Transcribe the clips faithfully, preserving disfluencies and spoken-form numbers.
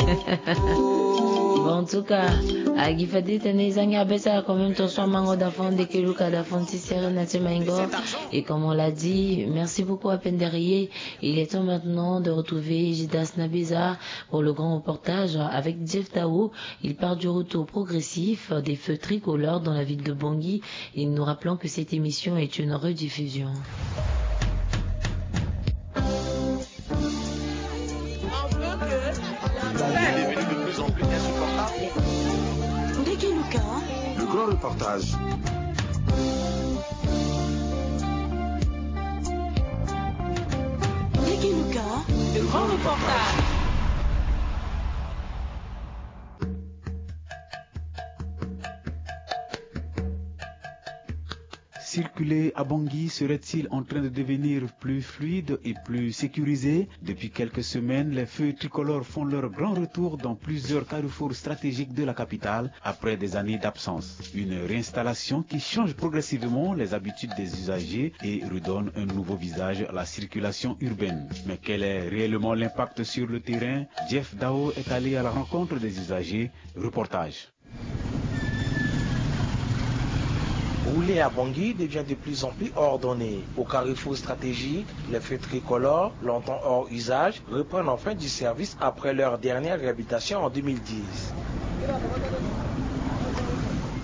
Bon, en tout cas, agi fade tene ezangi abesa quand même ton soin mango d'enfant de keluka d'enfant ti sere na ti maingo. Et comme on l'a dit, merci beaucoup à Penderier. Il est temps maintenant de retrouver Jidas Nabeza pour le grand reportage avec Jeff Tao. Il part du retour progressif des feux tricolores dans la ville de Bangui. Et nous rappelons que cette émission est une rediffusion. Ndeke Luka. Le grand reportage. Ndeke Luka. Le grand reportage. Circuler à Bangui serait-il en train de devenir plus fluide et plus sécurisé ? Depuis quelques semaines, les feux tricolores font leur grand retour dans plusieurs carrefours stratégiques de la capitale après des années d'absence. Une réinstallation qui change progressivement les habitudes des usagers et redonne un nouveau visage à la circulation urbaine. Mais quel est réellement l'impact sur le terrain ? Jeff Dao est allé à la rencontre des usagers. Reportage. Rouler à Bangui devient de plus en plus ordonné. Au carrefour stratégique, les feux tricolores, longtemps hors usage, reprennent enfin du service après leur dernière réhabilitation en deux mille dix.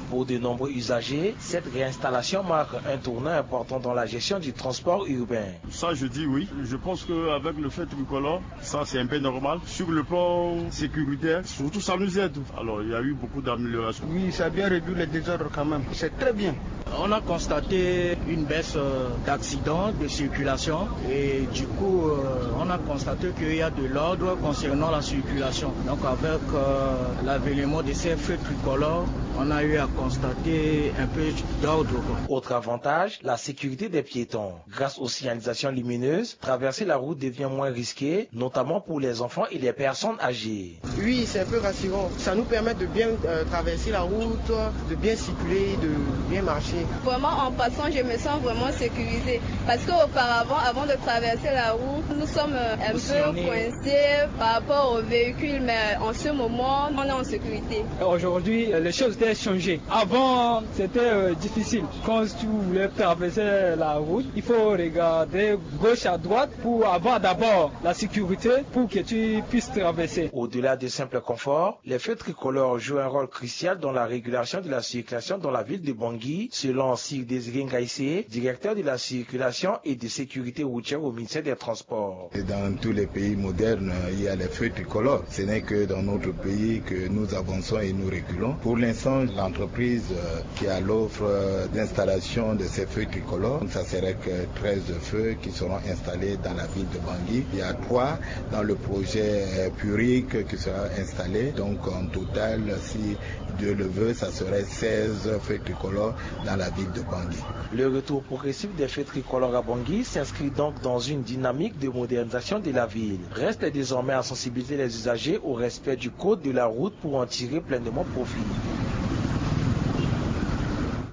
Pour de nombreux usagers, cette réinstallation marque un tournant important dans la gestion du transport urbain. Ça, je dis oui. Je pense qu'avec le feu tricolore, ça, c'est un peu normal. Sur le plan sécuritaire, surtout, ça nous aide. Alors, il y a eu beaucoup d'améliorations. Oui, ça a bien réduit les désordres quand même. C'est très bien. On a constaté une baisse, euh, d'accidents de circulation et du coup, euh, on a constaté qu'il y a de l'ordre concernant la circulation. Donc, avec, euh, l'avènement de ces feux tricolores, on a eu à constater un peu d'ordre, quoi. Autre avantage, la sécurité des piétons. Grâce aux signalisations lumineuses, traverser la route devient moins risqué, notamment pour les enfants et les personnes âgées. Oui, c'est un peu rassurant. Ça nous permet de bien, euh, traverser la route, de bien circuler, de bien marcher. Vraiment, en passant, je me sens vraiment sécurisée. Parce qu'auparavant, avant de traverser la route, nous sommes, euh, un peu coincés par rapport aux véhicules, mais en ce moment, on est en sécurité. Aujourd'hui, euh, les choses étaient changées. Avant, c'était, euh, difficile. Quand tu voulais traverser la route, il faut regarder gauche à droite pour avoir d'abord la sécurité pour que tu puisses traverser. Au-delà de simples conforts, les feux tricolores jouent un rôle crucial dans la régulation de la circulation dans la ville de Bangui, selon Sir Désiré Ngaïsé, directeur de la circulation et de sécurité routière au ministère des Transports. Et dans tous les pays modernes, il y a les feux tricolores. Ce n'est que dans notre pays que nous avançons et nous reculons. Pour l'instant, l'entreprise, euh, qui a l'offre, euh, d'installation de ces feux tricolores, ça serait que treize feux qui seront installés dans la ville de Bangui. Il y a trois dans le projet, euh, Puric qui sera installé. Donc, en total, si Dieu le veut, ça serait seize feux tricolores dans la ville de Bangui. Le retour progressif des feux tricolores à Bangui s'inscrit donc dans une dynamique de modernisation de la ville. Reste désormais à sensibiliser les usagers au respect du code de la route pour en tirer pleinement profit.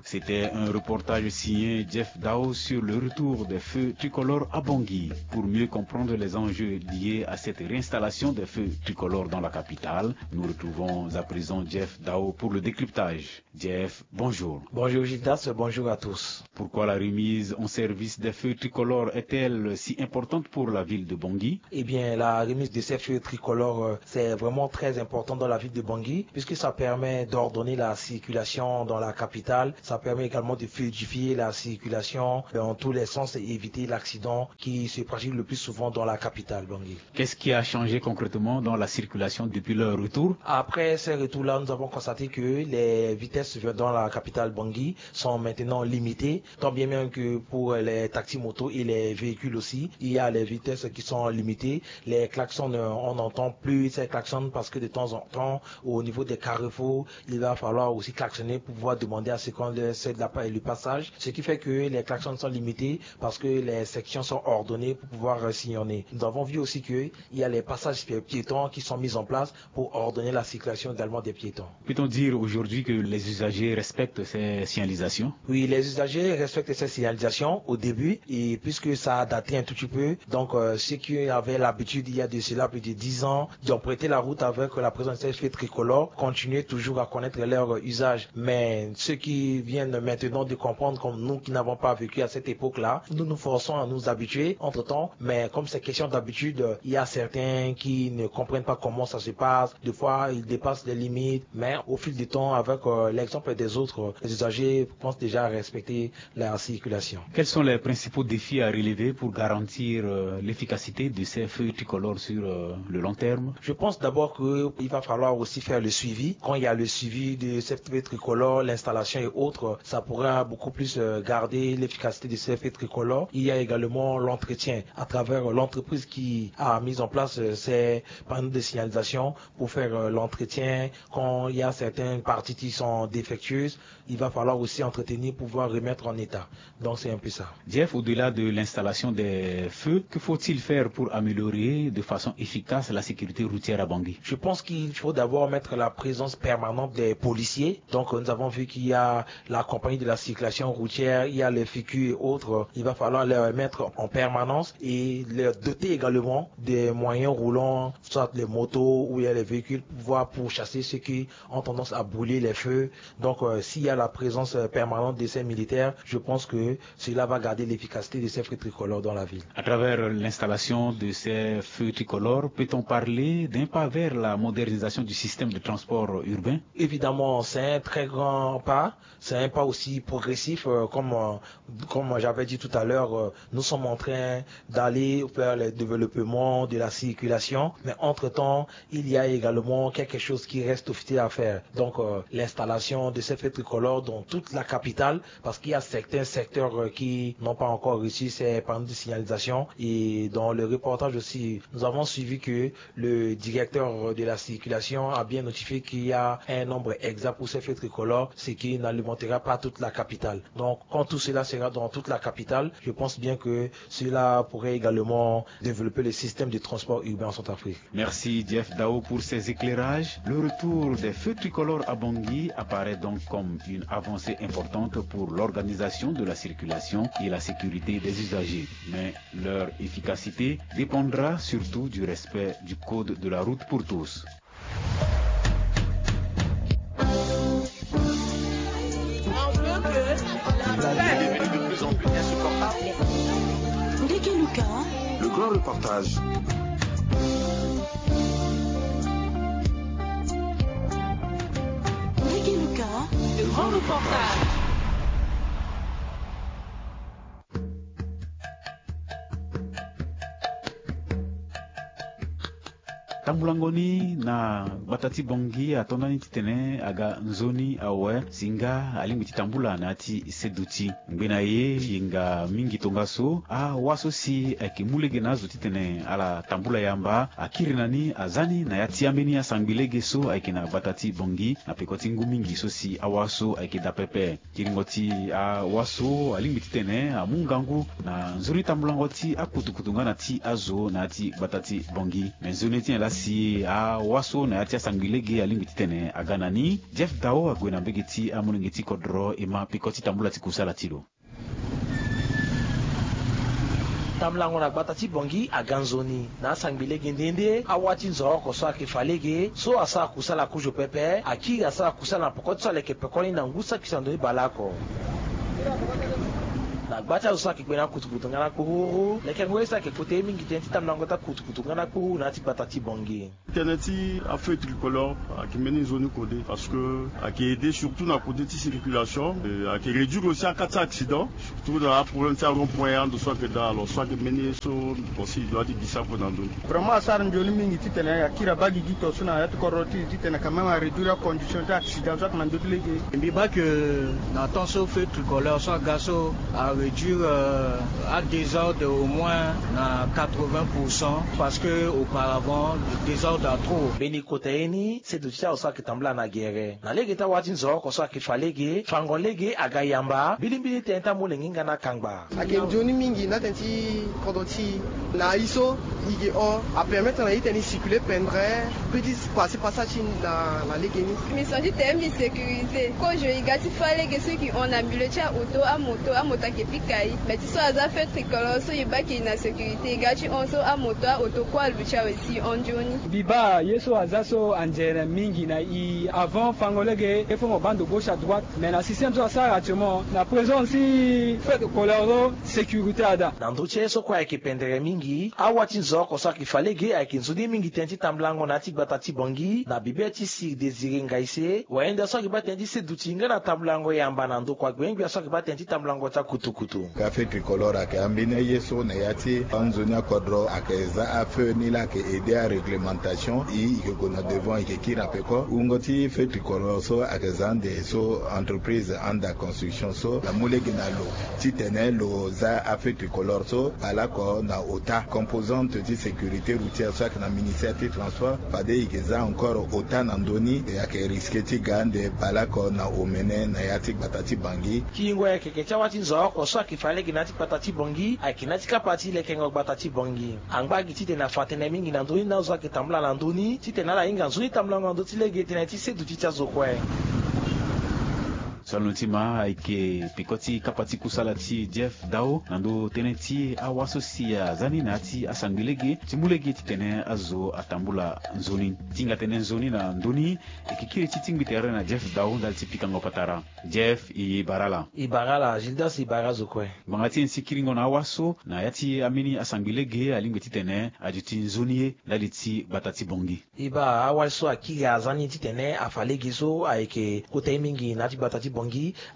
C'était un reportage signé Jeff Dao sur le retour des feux tricolores à Bangui. Pour mieux comprendre les enjeux liés à cette réinstallation des feux tricolores dans la capitale, nous retrouvons à présent Jeff Dao pour le décryptage. Jeff, bonjour. Bonjour Gildas, bonjour à tous. Pourquoi la remise en service des feux tricolores est-elle si importante pour la ville de Bangui ? Eh bien, la remise de ces feux tricolores, euh, c'est vraiment très important dans la ville de Bangui, puisque ça permet d'ordonner la circulation dans la capitale. Ça permet également de fluidifier la circulation dans tous les sens et éviter l'accident qui se pratique le plus souvent dans la capitale, Bangui. Qu'est-ce qui a changé concrètement dans la circulation depuis leur retour ? Après ce retour-là, nous avons constaté que les vitesses dans la capitale Bangui sont maintenant limitées, tant bien même que pour les taxis motos et les véhicules aussi, il y a les vitesses qui sont limitées. Les klaxons, euh, on n'entend plus ces klaxons parce que de temps en temps, au niveau des carrefours, il va falloir aussi klaxonner pour pouvoir demander à ce qu'on C'est de la pa- le passage, ce qui fait que les klaxons sont limités parce que les sections sont ordonnées pour pouvoir euh, sillonner. Nous avons vu aussi qu'il y a les passages pi- piétons qui sont mis en place pour ordonner la circulation également des piétons. Peut-on dire aujourd'hui que les usagers respectent ces signalisations ? Oui, les usagers respectent ces signalisations au début, et puisque ça a daté un tout petit peu, donc euh, ceux qui avaient l'habitude il y a de cela plus de dix ans d'emprunter la route avec la présence de ces feux tricolores continuaient toujours à connaître leur usage. Mais ceux qui viennent maintenant de comprendre, comme nous qui n'avons pas vécu à cette époque-là, nous nous forçons à nous habituer entre-temps. Mais comme c'est question d'habitude, il y a certains qui ne comprennent pas comment ça se passe. Des fois, ils dépassent les limites. Mais au fil du temps, avec euh, l'exemple des autres, les usagers commencent déjà à respecter la circulation. Quels sont les principaux défis à relever pour garantir euh, l'efficacité de ces feux tricolores sur euh, le long terme ? Je pense d'abord qu'il va falloir aussi faire le suivi. Quand il y a le suivi de ces feux tricolores, l'installation et autres, ça pourra beaucoup plus euh, garder l'efficacité de ces feux tricolores. Il y a également l'entretien à travers l'entreprise qui a mis en place euh, ces panneaux de signalisation pour faire euh, l'entretien. Quand il y a certaines parties qui sont défectueuses, il va falloir aussi entretenir pour pouvoir remettre en état. Donc c'est un peu ça. Jeff, au-delà de l'installation des feux, que faut-il faire pour améliorer de façon efficace la sécurité routière à Bangui ? Je pense qu'il faut d'abord mettre la présence permanente des policiers. Donc euh, nous avons vu qu'il y a la compagnie de la circulation routière, il y a les F I C U et autres. Il va falloir les mettre en permanence et les doter également des moyens roulants, soit les motos ou bien les véhicules, pour pouvoir pourchasser ceux qui ont tendance à brûler les feux. Donc euh, s'il y a la présence euh, permanente de ces militaires, je pense que cela va garder l'efficacité de ces feux tricolores dans la ville. À travers l'installation de ces feux tricolores, peut-on parler d'un pas vers la modernisation du système de transport urbain ? Évidemment, c'est un très grand pas. C'est un pas aussi progressif, euh, comme, euh, comme j'avais dit tout à l'heure, euh, nous sommes en train d'aller vers le développement de la circulation. Mais entre-temps, il y a également quelque chose qui reste aussi à faire. Donc, euh, l'installation de ces feux tricolores dans toute la capitale, parce qu'il y a certains secteurs euh, qui n'ont pas encore reçu ces panneaux de signalisation. Et dans le reportage aussi, nous avons suivi que le directeur de la circulation a bien notifié qu'il y a un nombre exact pour ces feux tricolores, ce qui n'alimentera pas toute la capitale. Donc, quand tout cela sera dans toute la capitale, je pense bien que cela pourrait également développer le système de transport urbain en Centrafrique. Merci Jeff Dao pour ces éclairages. Le retour des feux tricolores à Bangui apparaît donc comme une avancée importante pour l'organisation de la circulation et la sécurité des usagers. Mais leur efficacité dépendra surtout du respect du code de la route pour tous. On veut que la paix. De plus en plus insupportable. Ndeke Luka. Le grand reportage. Ndeke Luka. Le grand reportage. Tambulango ni na gbata ti Bangui ato ndani titene aga nzoni awe si nga alingbi ti tambula na ya ti seduti. Ngbene aye yenga mingi tongaso awa so si ayeke mu lege na azo titene ala tambula yamba akiri na ni aza ni na ya ti ambeni asangbi lege so ayeke na gbata ti Bangui na peko ti ngu mingi so si awa so ayeke daa pepe. Kiringo ti awa so alingbi titene amu ngangu na nzoni tambulango ti akutukutu nga na ti azo na ya ti gbata ti Bangui. Me nzoni titene laa si awa so na ya ti asangbi lege alingbi titene aga na ni. Jeff Dao ague na mbege ti amolenge ti kodro e ma peko ti tambula ti kusala ti lo. Tambulango na gbata ti Bangui aga nzoni na asangbi lege nde nde awa ti nzoroko so ayeke fa lege so asara kusala kozo pepe akiri asara kusala na peko ti so aleke pekoni na ngu saki sando ni baleoko. Na gba ti azo so ayeke kpe na kutukutu nga na kpururu lekengo ye so ayeke kota ye mingi tënë ti tambulango ti akutukutu nga na kpururu na ya ti gbata ti Bangui. Tënë ti afeu tricolore ayeke mbeni nzoni kode parce que ayeke aide surtout na kode ti circulation. Ayeke réduire aussi aka ti accident surtout na aproblème ti arond point ando so ayeke daa alors so ayeke mbeni ye so aussi e doit ti gisa kue na ndö ni. Vraiment asara nzoni mingi titene akiri abaa gigi to so na ya ti kodro ti e titene quand même aréduire acondition ti accident so ayeke na ndö ti lege. Mbi baa que na temps so feu tricolore so aga so a Réduire euh, à désordre au moins na quatre-vingts pour cent, parce que auparavant le désordre a trop. Mbeni kota ye ni seduti ti azo so ayeke tambula na gere na lege ti awa ti nzoroko so ayeke fa lege fango lege aga yamba mbilimbili tënë ti amolenge nga na kangba. Ayeke nzoni mingi na tënë ti kodro ti e na aye so e yeke hon apermettre na e tënë e circuler pendere. Petit passé passage ti na na lege ni. Mission ti tene mbi sécurité kozo e ga ti fa lege so e yeke hon na milieu ti aoto amoto amoto ayeke pika e mais ti so aza feu tricolore so e baa ke e na sécurité e ga ti hon so amoto aoto kue aluti awe si e hon nzoni. Mbi baa ye so aza so anzere mingi na e avant fango lege e fo mo baa ndo gauche à droite. Mais na système so asara actuellement na présence ti feu tricolore so sécurité ada. Na ndö ti aye so kue ayeke pendere mingi awa ti nzoroko so ayeke fa lege ayeke nzoni mingi tënë ti tambulango na ya ti gbata ti Bangui na bibe ti Sir Désiré Ngaïssé wayenda so ayeke baa tënë ti seduti nga na tambulango yamba na ndokua gbengbia so ayeke baa tënë ti tambulango ti akutukutu. Ka feu tricolore ayeke ambeni aye so na ya ti anzoni akodro ayeke za afeu ni laa ayeke aide aréglementation e yeke gue na devant e yeke kiri na peko wungo ti feu tricolore so ayeke za ande so entreprise anda construction so amu lege na lo titene lo za afeu tricolore so baleoko na ota composante ti sécurité routière so ayeke na ministère ti transport fade e yeke za encore ota na ndö ni e ayeke risque ti ga ande baleoko na omene na ya ti gbata ti Bangui. Kiyingo ayeke yeke ti awa ti nzoroko so ayeke fa lege na ya ti gbata ti Bangui ayeke na ya ti kapa ti lekengo gbata ti Bangui. Angba gi titene afa tënë mingi na ndö ni na azo ayeke tambula na ndö ni titene ala hinga nzoni tambulango na ndö ti lege tënë ti seduti ti azo kue. Salono ti ma ayeke peko ti kapa ti kusala ti Jeff Dao na ndö tënë ti awa so si aza ni na ya ti asangbi lege ti mu lege titene azo atambula nzoni. Ti hinga tënë nzoni na ndö ni e yeke kiri ti tingbi tere na Jeff Dao ndali ti pikango patara. Jeff, e bara ala. E bara ala Gildas, e bara azo kue. Ngbanga ti e ni si kiringo na awa so na ya ti ambeni asangbi lege alingbi titene aduti nzoni ye ndali ti gbata ti Bangui. E baa awa so akiri aza ni titene afa lege so ayeke kota ye mingi na ya ti gbata ti Bangui.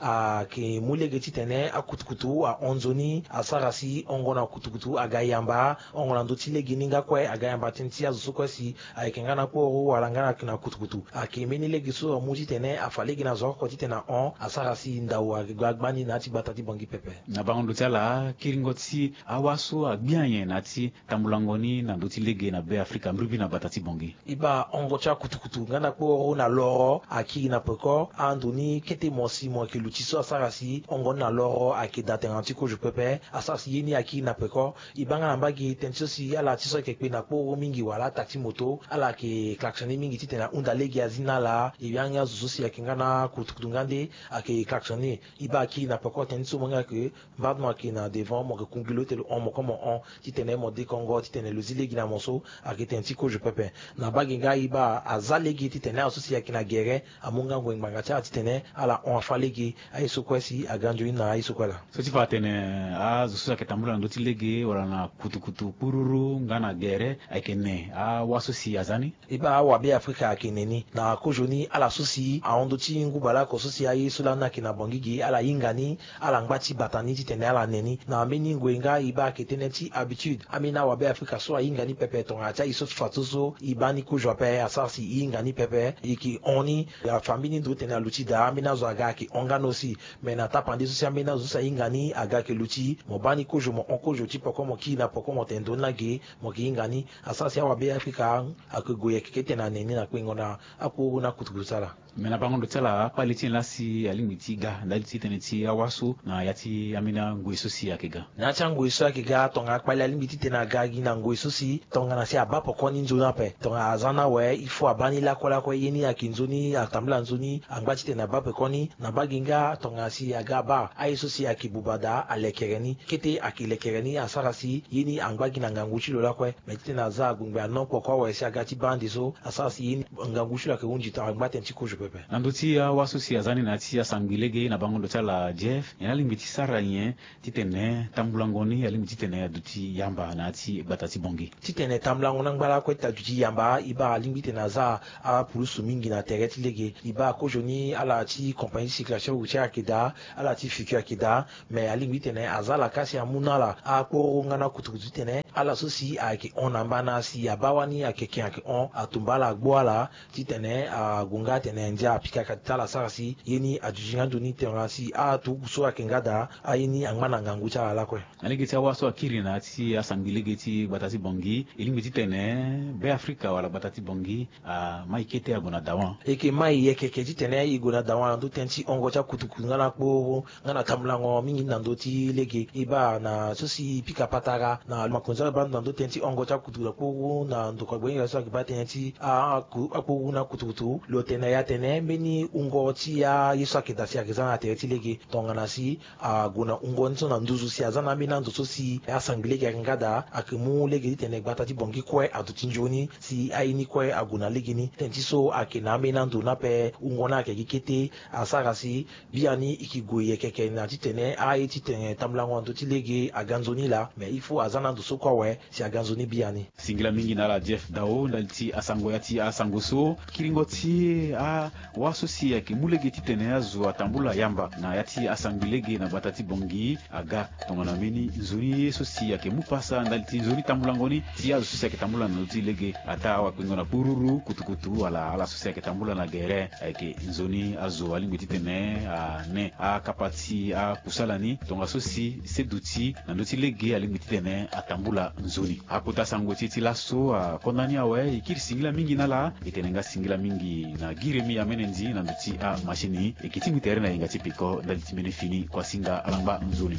Ayeke mu lege titene akutukutu ahon nzoni asara si hongo na kutukutu aga yamba hongo na ndö ti lege ni nga kue aga yamba tënë ti azo so kue si ayeke nga na kporo wala nga na kutukutu. Ayeke mbeni lege so amu titene afa lege na zo oko titene ahon asara si ndau agba gbani na ya ti gbata ti Bangui pepe. Na bango ndo ti ala kiringo ti awa so agbi anyen na ya ti tambulango ni na ndö ti lege na Be Afrika mbirimbiri na gbata ti Bangui. E baa hongo ti akutukutu nga na kporo na loro akiri na peko ando ni kete mo si mo yeke luti so asara si hongo ni na loro ayeke daa tengana ti kozo pepe. Asara si ye ni akiri na peko. E baa nga na mbage tënë ti so si ala ti so ayeke kpe na kporo mingi wala ata ti moto ala yeke klaxonne mingi titene ahunda lege azi na ala. E baa nga zo so si ayeke nga na kutukutu nga nde ayeke klaxonne. E baa akiri na peko tënë ti so mo nga yeke mbage mo yeke na devant mo yeke kungi lo ti lo hon mo kue mo hon titene mo dekongo titene lo zi lege na mo so. Ayeke tënë ti kozo pepe. Na mbage nga e baa aza lege titene azo so si ayeke na gere amu nga ngoi ngbanga ti ala titene ala hon afa lege aye so kue si aga nzoni na aye so kue laa. So ti fa atene azo so si ayeke tambula na ndö ti lege wala na kutukutu kpururu nga na gere ayeke ne awa so si aza ni. E baa awabe afrika ayeke ne ni na kozo ni ala so si ahon ndö ti ngu baleoko so si aye so lani ayeke na Bangui ge ala hinga ni. Ala ngba ti bata ni titene ala ne ni na mbeni ngoi nga e baa ayeke tënë ti habitude. Ambeni awabe afrika so ahinga ni pepe tongana ti aye so ti fa so so e baa ni kozo ape asara si e hinga ni pepe e yeke hon ni. Afa mbeni ndo tene aluti daa ambeni azo aga ayeke hon nga ni aussi. Me na tapande so si ambeni azo so si ahinga ni aga ayeke luti mo baa ni kozo mo hon kozo ti poko mo kiri na poko mo tene ndo ni lage mo yeke hinga ni. Asara si awabe afrika ayeke gue yeke kete na ne ni na kpengo na akporo na kutukutu ti ala. Me na bango ndo ti ala akpale ti nyen laa si alingbi ti ga ndali ti tënë ti awa so na ya ti ambeni angoi so si ayeke ga. Na ya ti angoi so ayeke ga tongana akpale alingbi titene aga gi na ngoi so si tongana si abaa poko ni nzoni ape tongana aza ni awe il faut abaa ni lakue lakue ye ni ayeke nzoni atambula nzoni angba titene abaa peko ni. Na mbage nga tongana si aga abaa aye so si ayeke buba daa alekere ni kete ayeke lekere ni asara si ye ni angba gi na ngangu ti lo lakue. Me titene aza agbengbe anon poko awe si aga ti baa ande so asara si ye ni ngangu ti lo ayeke hunzi tongana angba tënë ti kozo pepe. Na ndö ti awa so si aza ni na ya ti asangbi lege na bango ndo ti ala Jeff nyen alingbi ti sara nyen titene tambulango ni alingbi titene aduti yamba na ya ti gbata ti Bangui. Titene tambulango ni angba lakue ti aduti yamba e baa alingbi titene aza apulusu mingi na tere ti lege. E baa kozo ni ala ti compagnie ti circulation routière ayeke daa ala ti futur ayeke daa. Me alingbi titene aza lakasi amu na ala akporo nga na kutukutu titene Ala so si ayeke hon na mbana si abaa wani ayeke ken ayeke hon atumba ala agbu ala titene ague nga atene ndia apika ka ti ala asara si ye ni aduti nga ndo ni tongana si aturugu so ayeke nga daa aye ni angba na ngangu ti ala lakue. Na lege ti awâ so akiri na ya ti asangbi lege ti gbata ti Bangui, e lingbi titene Be Afrika wala gbata ti Bangui amai kete ague na dawa. E yeke mai yeke yeke titene e gue na dawa na ndö tënë ti hongo ti akutukutu nga na akporo nga na tambulango mingi na ndö ti lege. E baa na so si e pika patara na makonzi so abaa ndo na ndö tënë ti hongo ti akutukutu akporo na ndokua gbenyoke so ayeke baa tënë ti akporo na akutukutu lo tene na e atene mbeni wungo ti aye so ayeke daa si ayeke za na tere ti lege tongana si ague na wungo ni so na nduzu si aza na ambeni ando so si asangbi lege ayeke nga daa ayeke mu lege titene gbata ti Bangui kue aduti nzoni si aye ni kue ague na lege ni. Tënë ti so ayeke na ambeni ando ni ape wungo ni ayeke gi kete asara si biani e ke gue yeke yeke na titene aye titene tambulango na ndö ti lege aga nzoni laa. Mais il faut aza na ando so kue awe si aga nzoni biani. Singila mingi na ala Jeff Dao ndali ti asango ya ti asango so. Kiringo ti awâ so si ayeke mu lege titene azo atambula yamba na ya ti asangbi lege na gbata ti Bangui aga tongana mbeni nzoni ye so si ayeke mu pasa ndali ti nzoni tambulango ni ti azo so si ayeke tambula na ndö ti lege, ataa awakpengo na kpururu kutukutu wala ala so si ayeke tambula na gere ayeke nzoni azo alingbi titene ane akapa ti akusala ni tongaso si seduti na ndö ti lege alingbi titene atambula nzoni. Akota sango ti e ti laso akonda ni awe. E kiri singila mingi na ala. E tene nga singila mingi na Guy Rémy Amenendi na ndö ti amachine. E ke tingbi tere na yenga ti peko ndali ti mbeni fini. Kuasinga ala ngba nzoni.